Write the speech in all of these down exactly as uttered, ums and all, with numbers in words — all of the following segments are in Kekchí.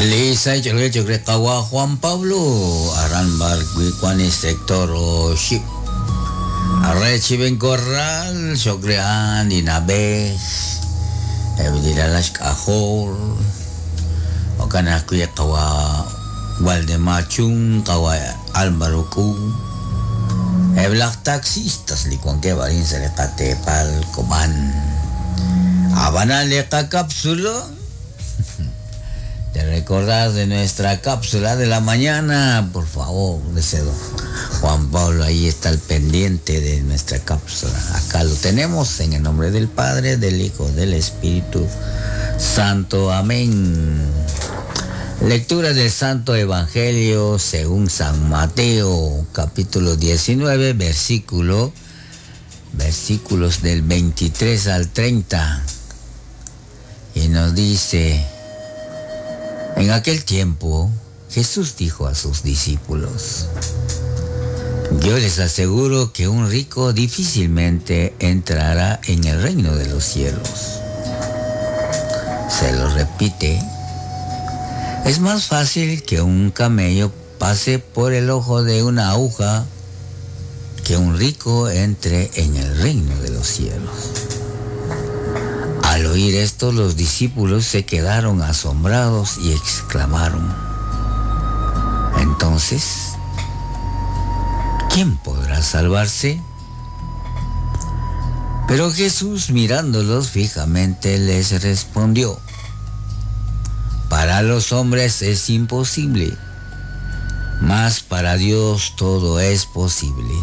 Lisa Chocrekawa Juan Pablo Aran Barguicuani sector Oship Arrechiben Corral Chocrean Dinabej Evidilalash Cajol Ocanascuyacawa Waldemar Chung Kawa Álvaro Ku Eblak taxistas Licuanque Barín Selecatepal Coman Habana Leca cápsula de recordar de nuestra cápsula de la mañana, por favor, deseo. Juan Pablo ahí está al pendiente de nuestra cápsula. Acá lo tenemos en el nombre del Padre, del Hijo, del Espíritu Santo. Amén. Lectura del Santo Evangelio según San Mateo, capítulo diecinueve, versículo, versículos del veintitrés al treinta. Y nos dice: en aquel tiempo, Jesús dijo a sus discípulos: yo les aseguro que un rico difícilmente entrará en el reino de los cielos. Se lo repite. Es más fácil que un camello pase por el ojo de una aguja que un rico entre en el reino de los cielos. Al oír esto, los discípulos se quedaron asombrados y exclamaron: entonces, ¿quién podrá salvarse? Pero Jesús, mirándolos fijamente, les respondió: para los hombres es imposible, mas para Dios todo es posible.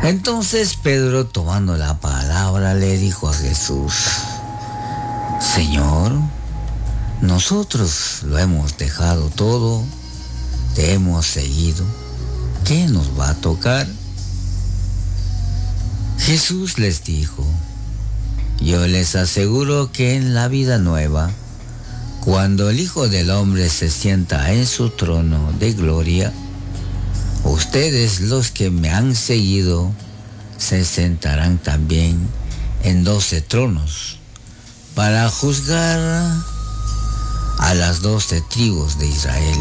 Entonces Pedro, tomando la palabra, le dijo a Jesús: Señor, nosotros lo hemos dejado todo, te hemos seguido. ¿Qué nos va a tocar? Jesús les dijo: yo les aseguro que en la vida nueva, cuando el Hijo del Hombre se sienta en su trono de gloria, ustedes, los que me han seguido, se sentarán también en doce tronos para juzgar a las doce tribus de Israel.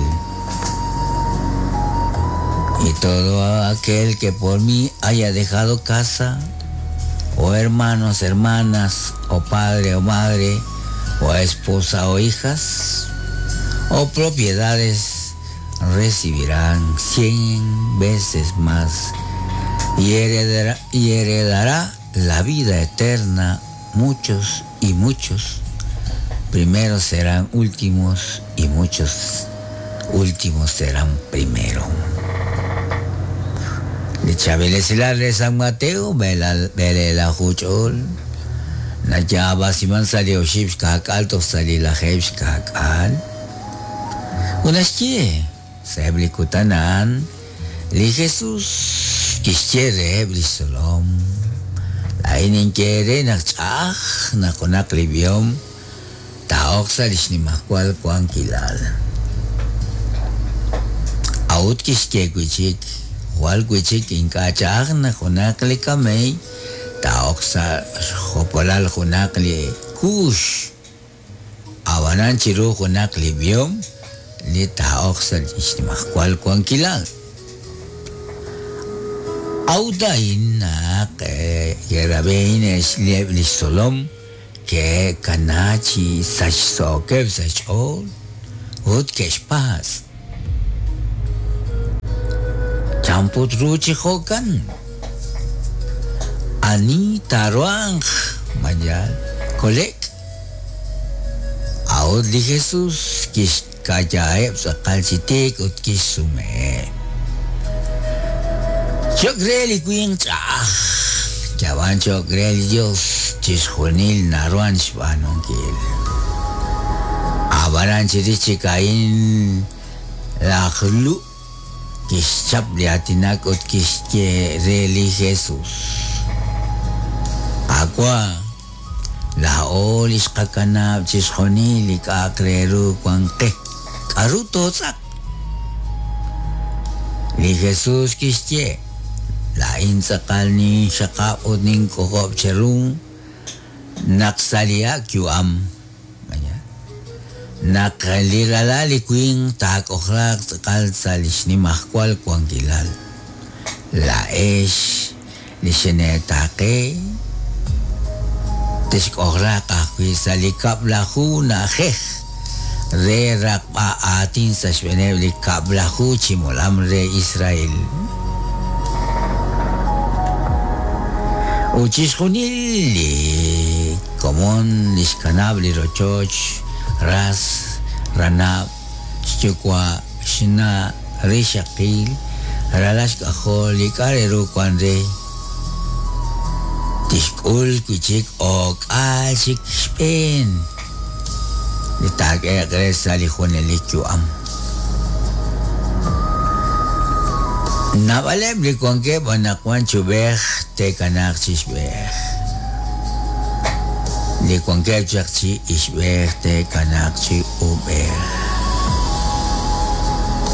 Y todo aquel que por mí haya dejado casa, o hermanos, hermanas, o padre o madre, o esposa o hijas, o propiedades, recibirán cien veces más y heredará, y heredará la vida eterna. Muchos y muchos primeros serán últimos y muchos últimos serán primero. Le Chabelesilar de San Mateo, Belela Juchol, Nayaba Simán salió Shipskak, Alto Salila Hebskak, Al. Unashkie, Seblikutanan, Li Jesús, Kishere Blisolom, Lainin Kere Nachach, Nakonak Libiom, Taoxa Lishnimakwal Kwankilal. Aut Kishke Kuchik, Wal Kuchik Inkachach, Nakonak Likamei, Taoxa Jopolal Junakli Kush, Abanan Chiru Junak Libiom, Li taoxa lixnimajkual kuankilal. Audain nak yerabein eslieb lixsolom ke kanachi sachsokeb sachol ut kexpas. Champut ruchi jokan. Ani taruang mayal kolek. Aud li Jesús kish kayaeb sakal chitik ut kisume. Chocreli queen chaj. Chavan chocreli Dios chisjunil naruan shbanonkil. Abaran chirichikain lajlu kishchap liatinak ut kishkereli Jesús. Aqua la olish kakanab chisjunil ikakreru kuanke. Aruto sak. Li Jesús kishche la intzakal ni shaka ut nin kokob cherun naksalia kyuam. Naq li ralal li winq taak'ojlaaq tz'aqal sa' li xnimajwal wankilal. Laa'ex li xineetaaqe texk'ojlaaq ajwi' sa' li kab'laju na'ajej re raqb'a aatin sa' xb'eeneb' li kab'laju chi molam re Israel. Ut chixjunil li komon li xkanab' li rochoch ras, ranab', xyuwa', xna', rixaqil, ralal xk'ajol li k'a' re ru wan re tixk'ul wi' chik ok'aal chik xb'een li taak'ehe'q re sa' li junelik yu'am. Naab'aleb' li wankeb' anaqwan chub'ej te'kanaaq chi xb'ej. Li wankeb' chaq chi ixb'ej te'kanaaq chi ub'ej.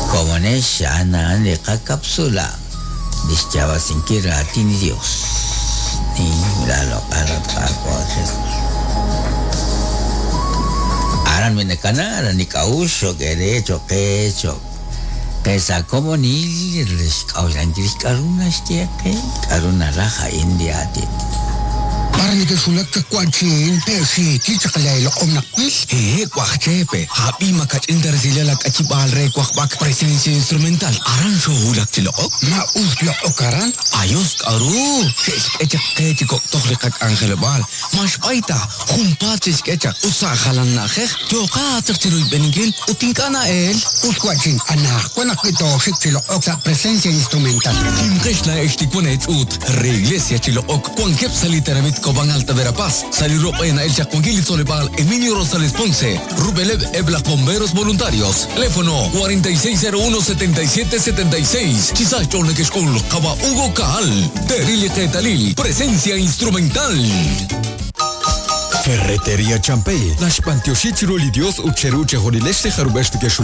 Komonex a'an a'an li qakapsula li xyaab'asinkil raatin li Dios. Ni la loq'al Qaawa' Jesus. Aran minakana, aran li k'a'uxl xo'k ere cho'q qe cho'q qe sa' komonil xk'a'uxlankil k'a'ru naxye qe k'a'ru naraj a'in li aatin. Para nekexwulak chaq wa'chin te'xiikil chaq leeloq'om naq wil. Hehe, waj Chepe, hab'i makach'in ta resilal ak'achib'aal re wajb'ak presencia instrumental. Aran xowulak chi loq'ok. Ma us loq'ok aran? Ayos k'aru, xe'xk'e chaq qe chi kok'toj li qak'anjelob'aal. Ma xb'ayta, junpaat xe'xk'e chaq ut sa' jalan na'ajej, yooqa chaq chi ruyb'eninkil ut ink'a' na'el. Us wa'chin, anajwan ajwi' tooxik chi loq'ok sa' presencia instrumental. Kimqex laa'ex li wan eech'uut re iglesia chi loq'ok wankeb' sa' li tenamit Cobán Alta Verapaz, sa' li roq'e na'el chaq wankil li tzoleb'aal Emilio Rosales Ponce, Rubeleb eb' laj bomberos voluntarios. Teléfono cuarenta y seis cero uno setenta y siete setenta y seis. Chisach chol nekexk'ul Qaba Hugo Kaal. Terili Qetalil. Presencia instrumental. Ferretería Champey. Naxpantioxi chiru li Dios ut cheru chejunilex li jarub'ex tikexul